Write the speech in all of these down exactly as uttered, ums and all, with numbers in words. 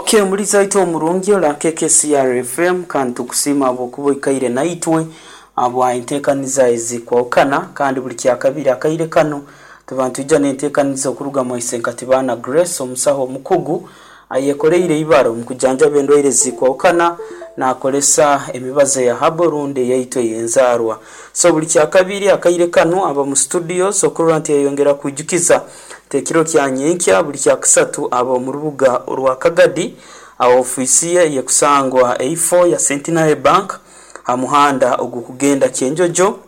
Okay, muliza waitu omurungi ora K K C R F M, kandi tukusiima habwokuba oikaire naitwe habwa enteekaniza ezikwahukana. Kandi buli kyakabiri akaire kano tuba nitwija n'enteekaniza okuruga mwaise Nkatibana Grace, omusaho omukugu ayekoreire ibara omu kujanjaba endwaire zikwahukana nakolesa emibazi eya herbal rundi eyaitu ey'enzaarwa. So buli kyakabiri akaire kano aba mu studios okurora nti yayongera kwijukiza nti ekiro kya nyenkya buli kyakusatu aba omu rubuga orwa Kagadi aho ofiisi ye yekusangwa eifo ya Centenary Bank ha muhanda ogukugenda Kyenjojo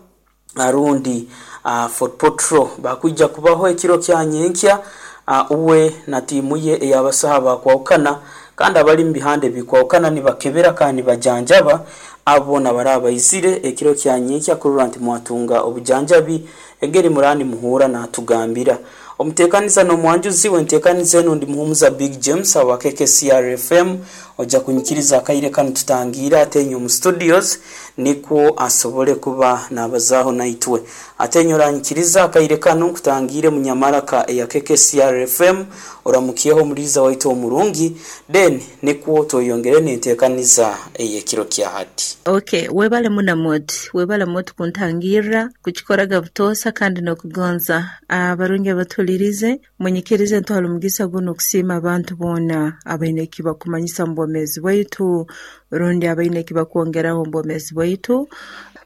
arundi uh, Fort Portal. Bakwija kubaho ekiro kya nyenkya uh, uwe na tiimu ye ey'abasaha bakwahukana kandi abali mu bihanda ebikwahukana, nibakebera kandi nibajanjaba abo nabaraba baizire ekiro kya nyenkya kurora nti mwatunga obujanjabi engeri murani muhura natugambira. Omuteekaniza n'omwanjuzi wenteekaniza enu ndi Muhumuza Big James awa K K C R F M. Ojja kunyikiriza akaire kanu tutangiire atenye omu studios nikwo asobole kuba nabazaaho naitwe. Atenye, oranyikiriza akaire kanu nkutangiire munyamaraka eya K K C R F M, oramukyeho omuliiza waitu omurungi, then nikwo tweyongere n'enteekaniza ey'ekiro kya hati. Okay, webale munamoti, webale moti kuntangirra kukikoraga butoosa kandi n'okugonza. Abarungi abatuhulirize, munyikirize ntwala omugisa guno okusiima abantu boona abaine ekibakumanyisa mu bwomeezi bwaitu rundi abaine ekibakwongeraho omu bwomeezi bwaitu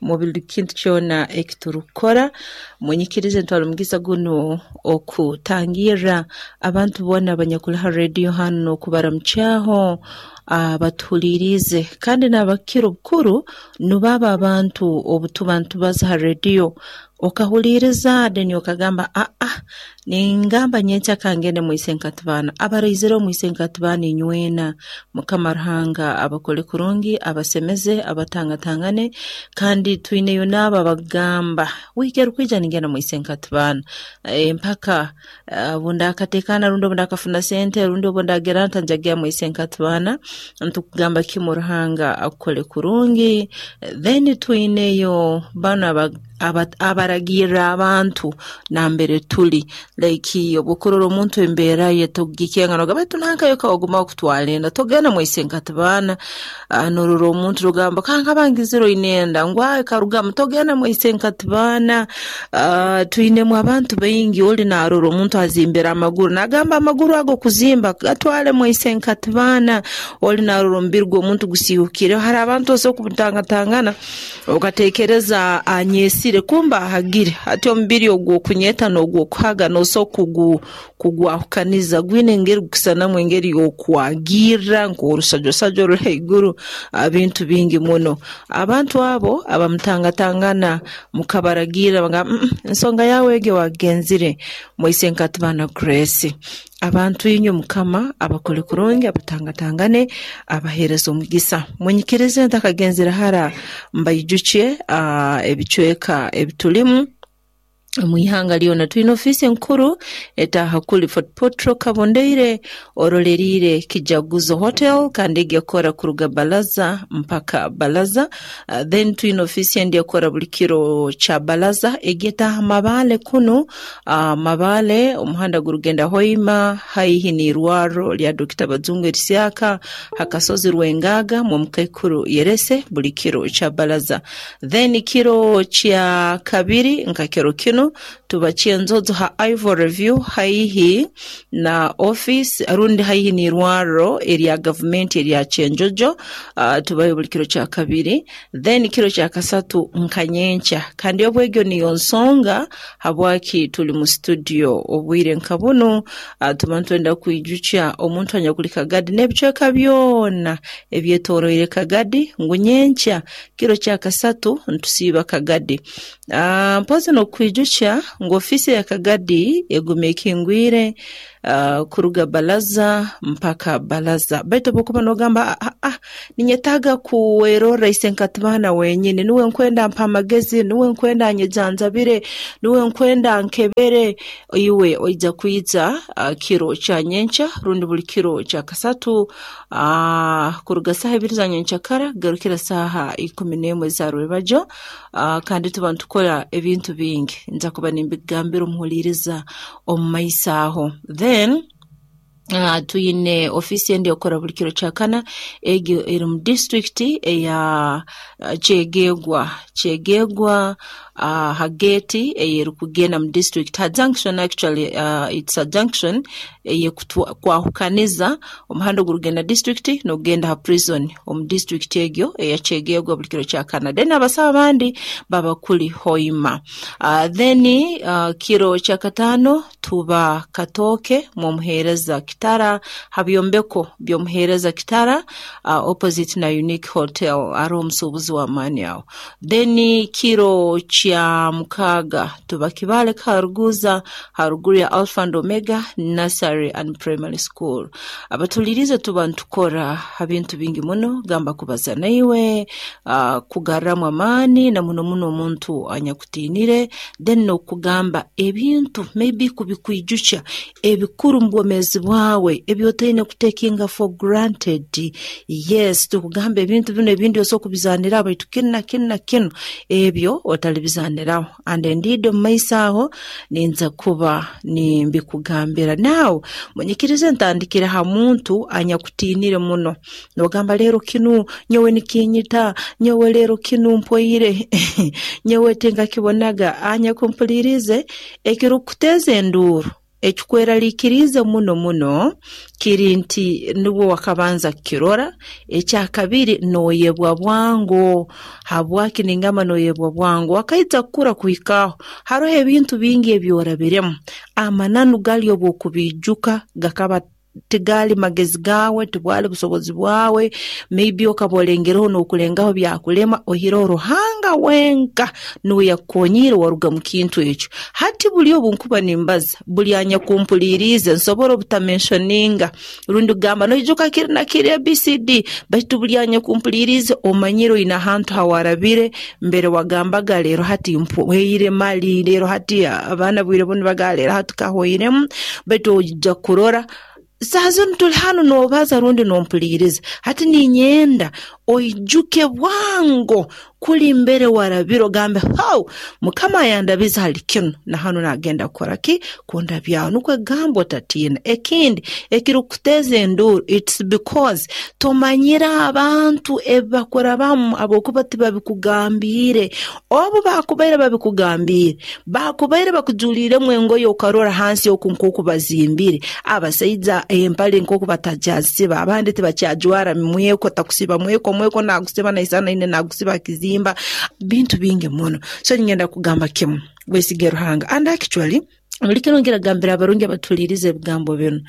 mu buli kintu kyona ekiturukukora. Munyikirize ntwala omugisa guno okutangirra abantu boona abanyakuli ha rediyo hanu n'okubaramukyaho abatuhuliriize, kandi n'abakira obukuru nubo abantu obutuba nitubaza ha rediyo okahuliriza, then okagamba, "Aa, ningamba nyenkya kangende mwise Nkatibana." Abaraizire omwise Nkatibana, inywena Mukama Ruhanga abakole kurungi, abasemeze, abatangatangane. Kandi twineyo n'abo abagamba, "Wiiki erukwija ningenda mwise Nkatibana, e, mpaka obu ndakateekana rundi obu ndakafuna sente rundi obu ndagera nta njagenda mwise Nkatibana." Ntukugamba kimu, Ruhanga akukole kurungi. Then twineyo banu aba abaragirra abantu nambere tuli, like obukurora omuntu embeera ye togikenga nogamba, "Baitu nankayo kawaguma kutwara enda, togenda mwise Nkatibana." Norora omuntu nogamba, "Kankaba ngizire oine enda ngu karugamu, togenda mwise Nkatibana." Twinemu abantu baingi, oli narora omuntu azimbire amaguru nagamba, "Amaguru ago kuzimba gatwale mwise Nkatibana." Oli narora omubiri gw'omuntu gusiihukire. Hari abantu osobola kutangatangana okatekereza anyesire, kumbe ahagire. Hati omubiri ogw'okunyeta n'ogw'okuhaga nosobola kugwahukaniza, gwine engeri gukusanamu, engeri y'okwagirra nk'orusajwasajwa oruli haiguru, bintu bingi muno. Abantu abo abamutangatangana mukabaragirra bagamba, "Ensonga yawe egi wagenzire mwise Nkatibana Grace." Abantu inywe Mukama abakole kurungi, abatangatangane, abaheereze omugisa. Munyikirize ntakagenzere hara mbaijukye ebicweka ebitulimu omu ihanga lyona. Twine ofiisi enkuru etaaha kuli Fort Portal, Kabondeire, oroleriire Kijaguzo Hotel, kandi egi ekora kuruga balaza mpaka balaza. uh, then twine ofiisi endi ekora buli kiro kya balaza, egi etaaha Mabale kunu, uh, Mabale omuhanda gurugenda Hoima, haihi n'irwaro lya Dokita Bazungu erisyaka hakasozi Rwengaga mwomukaikuru Yerese, buli kiro kya balaza. Then kiro kya kabiri nka kiro kino tuba Kyenzozo ha Ivory View, haihi na office rundi haihi n'irwaro erya gavumenti erya Kyenjojo. uh, tubayo buli kiro kya kabiri. Then kiro kya kasatu nka nyenkya, kandi obwegyo niyo nsonga habwaki tuli mu studio obwire nka bunu. uh, tuba nitwenda kwijukya omuntu anyakuli Kagadi n'ebicweka byona ebyetoroire Kagadi ngu nyenkya kiro kya kasatu ntusiiba Kagadi. uh, mpozi n'okwijukya ngu ofiisi ya Kagadi eguma ekingwire uh, kuruga balaza mpaka balaza. Baitu obukuba nogamba, "Ah, ah, ninyetaaga kuwerorra ise Nkatibana wenyini, niwe nkwenda mpa amagezi, niwe nkwenda nyejanjabire, niwe nkwenda nkebere," iwe oija kwija uh, kiro kya nyenkya rundi buli kiro kya kasatu uh, kuruga saaha ibiri za nyenkyakara kugarukira saaha ikumi n'emwe za rwebajo. uh, kandi tuba nitukora ebintu bingi, nja kuba nimbigambira omuhuliriza omu maiso aho. Then Uh, tuyine ofisi endi okora buli kiro kyakana egyo eri mu district eya uh, Kyegegwa Kyegegwa uh, ha gate eyerikugenda mu district ha junction actually uh, it's a junction eyekwahukaniza omuhanda ogurugenda district n'ogenda ha prison omu district egyo eya Kyegegwa buli kiro kyakana. Then abasawo abandi baba kuli Hoima. Uh, then uh, kiro kyakataano tuba Katooke mw'omuheereza Kitara ha byombeko by'omuheereza Kitara uh, opposite na Unique Hotel ari omusuubuzi w'amaani aho. Then kiro kya mukaaga tuba Kibale Karuguza haruguru ya Alpha and Omega Nursery and Primary School. Abatulirize tuba ntukora ha bintu bingi muno, gamba kubaza naiwe, uh, kugarramu amaani na muno muno omuntu anyakutinire, then n'okugamba ebintu maybe kubikwijukya ebikuru mu bwomeezi bwawe ebyotaine kutekinga for granted. Yes, tukugamba ebintu bino ebindi osobola kubizaniraho baitu kinu na kinu na kinu ebyo otalibizaniraho. And indeed omu maiso aho ninza kuba nimbikugambira. Now munyikirize ntandikire ha muntu anyakutinire muno, nogamba leero kinu nyowe nikinyita, nyowe leero kinu mpwaire nyowe tinkakibonaga. Anyakumpulirize, ekirukuteza enduuru ekikweraliikiriize muno muno kiri nti nibwo wakabanza kukirora. Ekyakabiri noyebwa bwangu. Habwaki ningamba noyebwa bwangu? Wakaija kukura kuhikaho haroho ebintu bingi ebyorabiremu, amananu gali obwokubiijuka gakaba tigali magezi gawe, tibwali busobozi bwawe, maybe okaba olengereho n'okulengaho byakulema, ohireho Ruhanga wenka nuwe yakukonyire waruga mu kintu ekyo. Hati buli obu nkuba nimbaza, buli anyakumpuliriize nsobora obutamentioninga rundi kugamba noijuka kiri na kiri A B C D, baitu buli anyakumpuliriize omanyire oine ahantu hawarabire mbere wagambaga leero hati mpweire mali, leero hati abaana bwire bunu baga leero hati kahweiremu, baitu ojja kurora saha zinu tuli hanu nobaza rundi nompuliriza. Hati ninyenda oijuke bwango kuli mbere warabire ogambe hau Mukama ayandabiza hali kinu na hanu nagenda kukora ki kundabyaho, nukwo egamba otatiina. Ekindi ekirukuteza enduuru, it's because tomanyire abantu ebibakurabamu habwokuba tibabikugambiire. Obu bakubaire babikugambiire, bakubaire bakujuliiremu engoye okarora hansi oku nk'oku bazimbire, abasaija empale nk'oku batakyazisiba, abandi tibakyajwara mweko, takusiba mweko, mweko nagusiba naisana ine nagusiba kizimba, bintu bingi muno. So ningenda kugamba kimu, wesige Ruhanga. And actually buli kiro ngiragambira abarungi abatulirize ebigambo binu,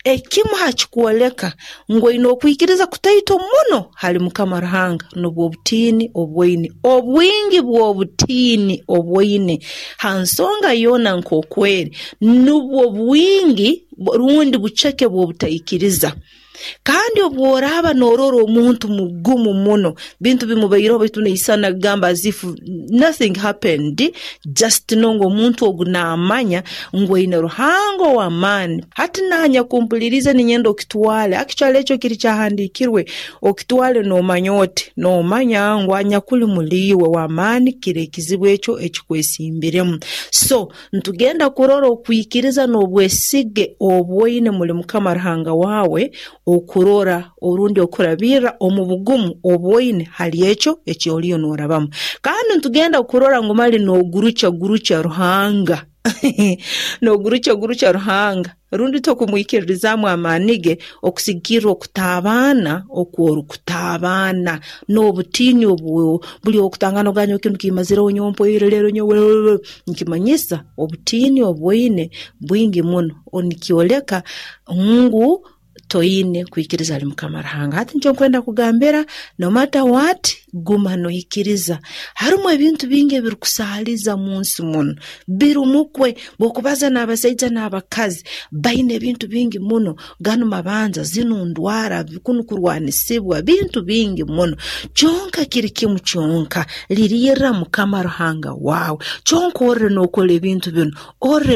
ekimu hakikwoleka ngu oine okwikiriza kutaito muno hali Mukama Ruhanga nubwo obutiini obwoine, obwingi bw'obutiini obwoine ha nsonga yoona nk'okweri, nubwo bwingi rundi buceke bw'obutaikiriza. Kandi obworaaba norora omuntu mugumu muno, bintu bimubaireho baitu naisana kugamba as if nothing happened, just know ngu omuntu ogu naamanya ngu aine Ruhanga ow'amaani. Hati nanya kumpuliriza ninyenda okitwale, actually ekyo kiri kyahandiikirwe, okitwale noomanya oti, noomanya ngu anyakuli muliiwe w'amaani kiri ekizibu ekyo ekikwesimbiremu. So ntugenda kurora okwikiriza n'obwesige obwoine muli Mukama Ruhanga wawe, okurora orundi okurabirra omu bugumu obwoine hali ekyo ekyoliyo norabamu. Kandi ntugenda kurora ngu mali nogurucha gurucha Ruhanga nogurucha gurucha Ruhanga rundi tokumwikiririzaamu amaani ge okusigikirra okutabaana okworukutabaana n'obutiini obu buli okutangana oganya kinu kimazireho nyowe mpwaire leero nyowe, nkimanyisa obutiini obwoine bwingi muno, nikyoleka ngu toine kwikiriza hali Mukama Ruhanga. Hati nikyo nkwenda kugambira, no matter what, guma noikiriza. Harimu ebintu bingi ebirikusaaliza mu nsi muno, birumukwe bw'okubaza n'abasaija n'abakazi baine ebintu bingi muno, ganu mabanja, zinu ndwara, kunu kurwanisibwa, bintu bingi muno. Kyonka kiri kimu kyonka, liriirra Mukama Ruhanga wawe. Kyonka orre n'okora ebintu binu, orre